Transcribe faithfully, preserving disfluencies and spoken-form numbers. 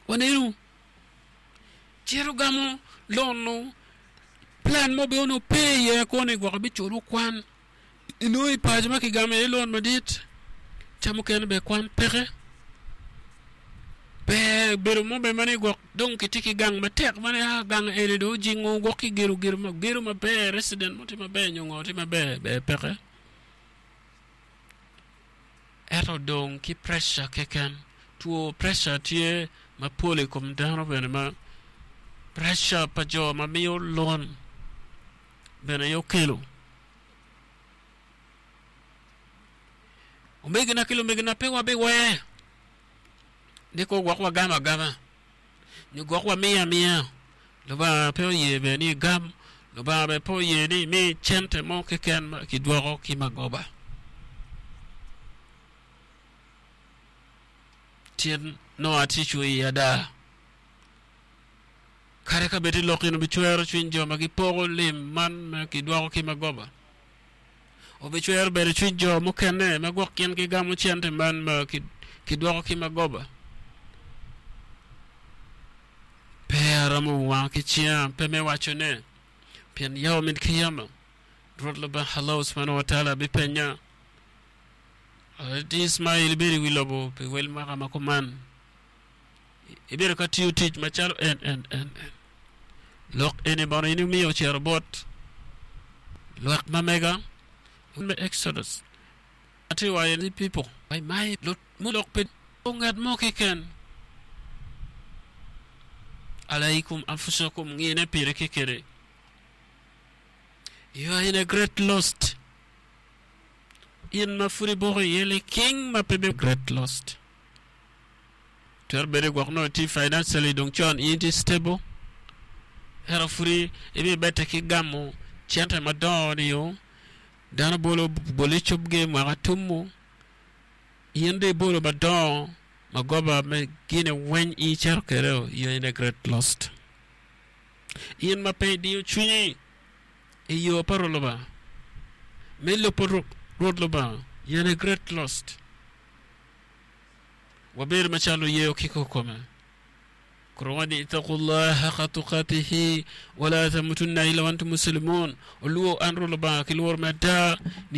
Wanenu cito gamo loan plan mo bene onongo pe iye koni gwok biculo kwan inongo i paco ma kigamo iye loan madit ca mukene bene kwan peke ber bedo mo bene ma ni gwok dong kitye ki gang matek ma ni a gang eni dong ojingo gwok kigedo gedo maber resident mo tye maber nyo ngo tye maber ber peke ento dong ki pressure keken two pressure tye mapol i kom dano bene ma pressure pa jo ma miyo loan bene aye okelo omegina ki lumegina pe wabiwer ni ko gwok wagamo agama nyo gwok wamiyo amiya Lubanga pe oye bene ni igam Lubanga bene pe oye ni imi cente mo keken ma kidwoko ki magoba Tyen nongo atye cwer i ada kadi ka bed ni lok eni bicwero cwiny jo ma gipoko lim man ma kidwoko ki magoba obicwero bene cwiny jo mukene ma gwok gin gigamo cente man ma kidwoko ki magoba pe aromo wango ki cinga pe me wacone pien yawmil kiyama Rwot Lubanga Allah subhanahu wa ta'ala bipenya Ismail ibedo i wi lobo pi wel mwaka ma kuman ibedo ka tiyo tic macalo en en en en lok eni bono in imiyo ocito bot lwak ma mega me Exodus atye waco ni people my lok pe ngat mo keken alaikum anfusakum ngine pire kekene you are in a great lost in ma pud iboko iye liking ma pe be great lost twero bedo gwok nongo itye financially dong con in itye stable ento pud ibibedde ki gamo cente madongo nio dano bolo bolo icubgi mwaka tumu in dong ibolo madongo magoba me gine weng in icito kwede you are in a great lost in ma pe idiyo cwinyi i yo pa Rwot Lubanga me lubo Rwot Lubanga you are in a great lost wabedo macalo luyeyo ki kikome Quran ni ittaqullah haqqa tuqatihi wala tamutunna illa wa antum muslimun oluwo an Rwot Lubanga ki lworo me ada